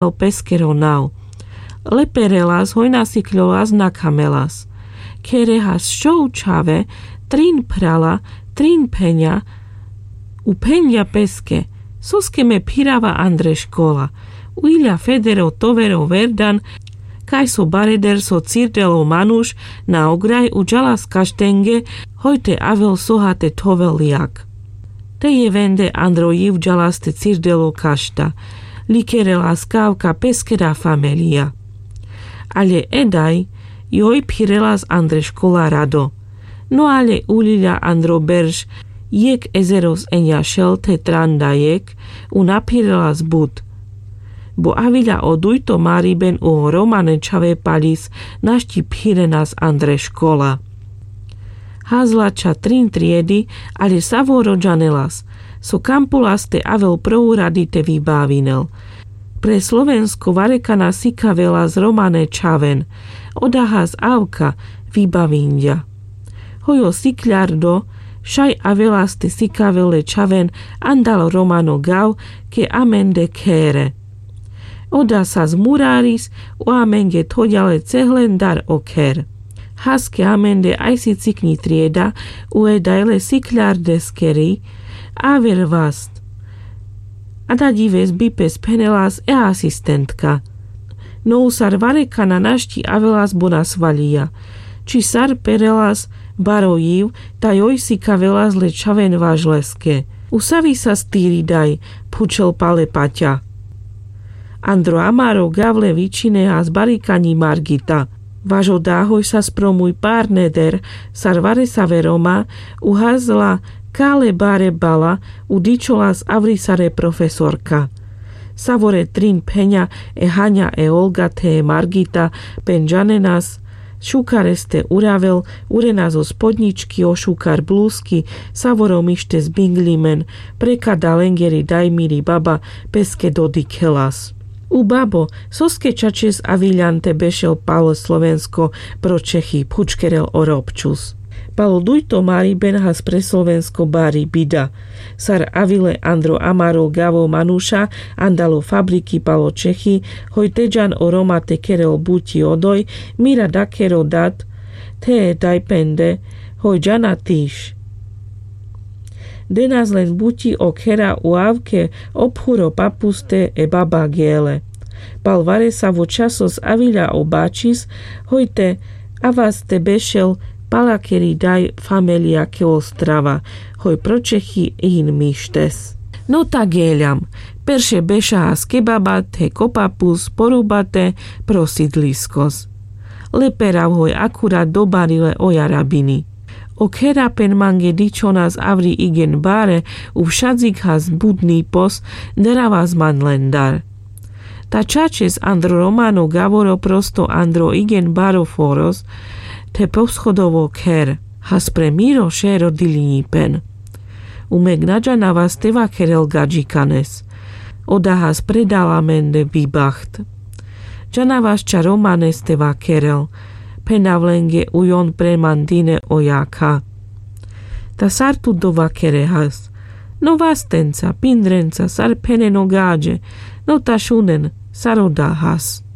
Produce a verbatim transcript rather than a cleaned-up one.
o peskero nav. Leperelas hoj na sikľolas na kamelas. Khere has šov čhave, trin phrala, trin pheňa. U phenďa peske, soske me phirava andre škola? U iľa federo tovero verdan, kaj so bareder so cirdel o manuš na ograj u džalas kaštenge, hoj te avel soha te thovel jak. Te jevende andro jiv džalas te cirdel o kašta, likerelas kavka peskera famelija. Ale e daj, joj phirelas andre škola rado. No ale uľiľa andro berš, jek ezeros eňa šel the tranda jek, u na phirelas but. Bo aviľa o dujto mariben u o romane čhave paľis našti phirenas andre škola. Hazla čha trin triedi, ale savoro džanelas so kampulas te avel pro uradi te vibavinel. Pre slovensko varekana sikavelas romane čhaven. Oda has avka vibavinďa. Hoj o sikľardo šaj avelas te sikavel le čhaven andal romano gav ke amende khere. Oda sas muraris u amenge thoďa le cehlendar o kher. Haske amende ajsi cikňi trieda u e daj le sikľardeskeri aver vast. A da ďives bipes phenelas e asistentka. No u sar varekana našti avelas bo na svaľija. Či sar perelas baro jiv, ta joj sikavelas le čhaven važleske. U savi sas tiri daj? Phučel pale paťa. Andro amaro gav le vičine has barikaňi margita. Važo da hoj sas pro muj parneder sar varesave roma u hazla kale bare bala u dičolas avri sare profesorka. Savore trin pheňa e haňa e olga the e margita pen džanenas šukareste uravel, urenas o spodňički o šukar bluski, savoro mištes bingľimen. Prekada lengeri daj miri baba peske dodikhelas. U babo, soske čačes aviľan te bešel pal slovensko pro čechi? Phučkerel o robčus. Palo dujto mariben has pre slovensko bari bida. Sar avile andro amaro gavo manuša andalo fabriki palo čechi, hoj te džan o roma te kerel buti odoj, mira dakero dat the e daj pende, hoj džana tiš. Denas len buti o khera u avke o phuro papuste e baba gele. Pal varesavo časos aviľa o bačis, hoj te avas te bešel palakeri daj famelia ke ostrava, hoj pro čechi hin mištes. No ta geľam. Perše beša has ke baba the ko papus porubate pro sidliskos. Leperav hoj akurat dobarile o jarabini. O khera pen mange dičonas avri igen bare, u šadzik has budni pos, deravas man lendar. Ta čačes andro romano gavoro prosto andro igen baro foros the poschodovo kher, has pre miro šero dilinjipen. Umek na džanavas te vakerel gadžikanes. Oda has pre dala mende bibaht. Džanavas čha romanes te vakerel. Phenav lenge ujon pre man dine o jakha. Ta sar tu dovakere has? No vastenca pindrenca sar phenen o gadže. No ta šunen sar oda has.